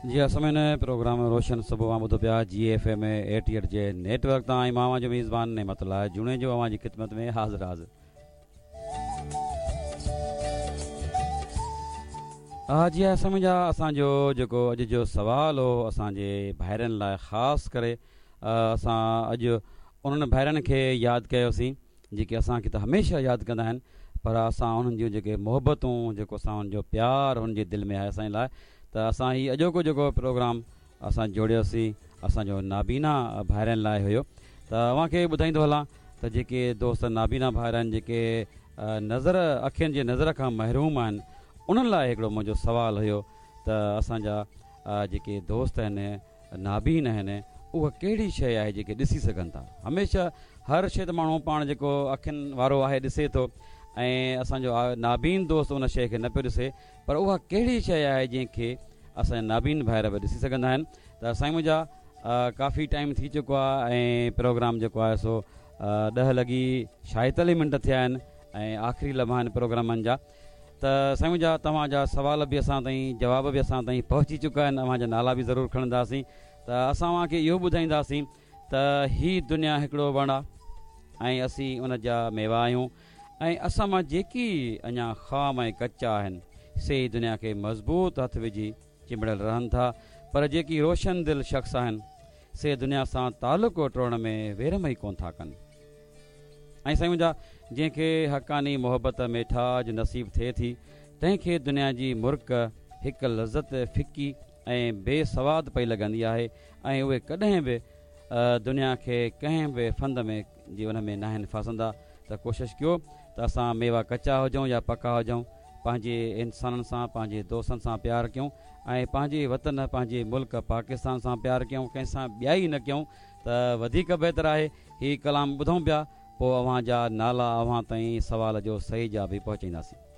جي ها سامعين پروگرام روشن صبح اوهان ٻڌو پيا جي ايف ايم 88 جي نيٽ ورڪ تان ۽ مان اوهان جو ميزبان نعمت الله جوڻيجو اوهان جي خدمت ۾ حاضر حاضر. ها جي ها سامعين جا اسان جو جيڪو اڄ جو سوال هو اسان جي ڀائرن لاء خاص ڪري اسان اڄ انهن ڀائرن کي ياد ڪيوسين جيڪي اسان کي ته هميشه ياد ڪندا آهن پر اسان انهن جون جيڪي محبتون جيڪو اسان انهن جو پيار انهن جي دل ۾ آهي اسان جي لاء ته اسان هي اڄوڪو جيڪو پروگرام اسان جوڙيوسين اسان جو نابينا ڀائرن لاء هيو ته اوهان کي ٻڌائيندو هلان ته جيڪي دوست نابينا ڀائر آهن جيڪي نظر اکين جي نظر کان محروم آهن انهن لاء هڪڙو منهنجو سوال هيو ته اسان جا جيڪي دوست آهن نابين آهن اها ڪهڙي شيء آهي جيڪي ڏسي سگهن ٿا هميشه هر شيء ته ماڻهو پاڻ جيڪو اکين وارو آهي ڏسي ٿو ۽ اسان جو نابين دوست ان شيء کي نه پيو ڏسي پر اها ڪهڙي شيء آهي جنهن کي اسان جا نابين ڀائر به ڏسي سگهندا آهن ته سائين منهنجا ڪافي ٽائيم ٿي چڪو آهي ۽ پروگرام جيڪو آهي سو ڏهه لڳي 46 منٽ ٿيا آهن ۽ آخري لمحا آهن پروگرامن جا ته سائين منهنجا توهان جا سوال به اسان تائين جواب به اسان تائين پهچي چڪا آهن اوهان جا نالا به ضرور کڻنداسين ته اسان اوهان کي اهو ٻڌائينداسين ته هي دنيا هڪڙو وڻ آ ۽ اسين ان جا ميوا آهيون ۽ اسان مان جيڪي اڃا خام ۽ ڪچا آهن سي ئي دنيا کي مضبوط هٿ وجهي چنبڙيل رهن ٿا پر جيڪي روشن دل شخص آهن سي دنيا سان تعلق ٽوڙڻ ۾ ويرم ئي ڪونه ٿا ڪن. ۽ سائين منهنجا جنهن کي حقاني محبت ميٺاج نصيب ٿئي ٿي تنهن کي دنيا جي مرڪ هڪ لذت ڦڪي ۽ بي سواد پئي لڳندي آهي ۽ اهي ڪڏهن به دنيا کي ڪنهن به ڦند ۾ جي ان ۾ ناهن ڦاسندا ته ڪوشش ڪيو ته اسان ميوا ڪچا هجون يا پڪا هجون پنهنجي انسانن سان پنهنجي دوستن سان پيار ڪيون ۽ پنهنجي وطن پنهنجي ملڪ پاڪستان سان پيار ڪيون ڪنهن سان ٻيائي نه ڪيون ته وڌيڪ بهتر آهي. هي ڪلام ٻڌون پيا پوء اوهان جا نالا اوهان تائين سوال جو صحيح جواب به پهچائينداسين.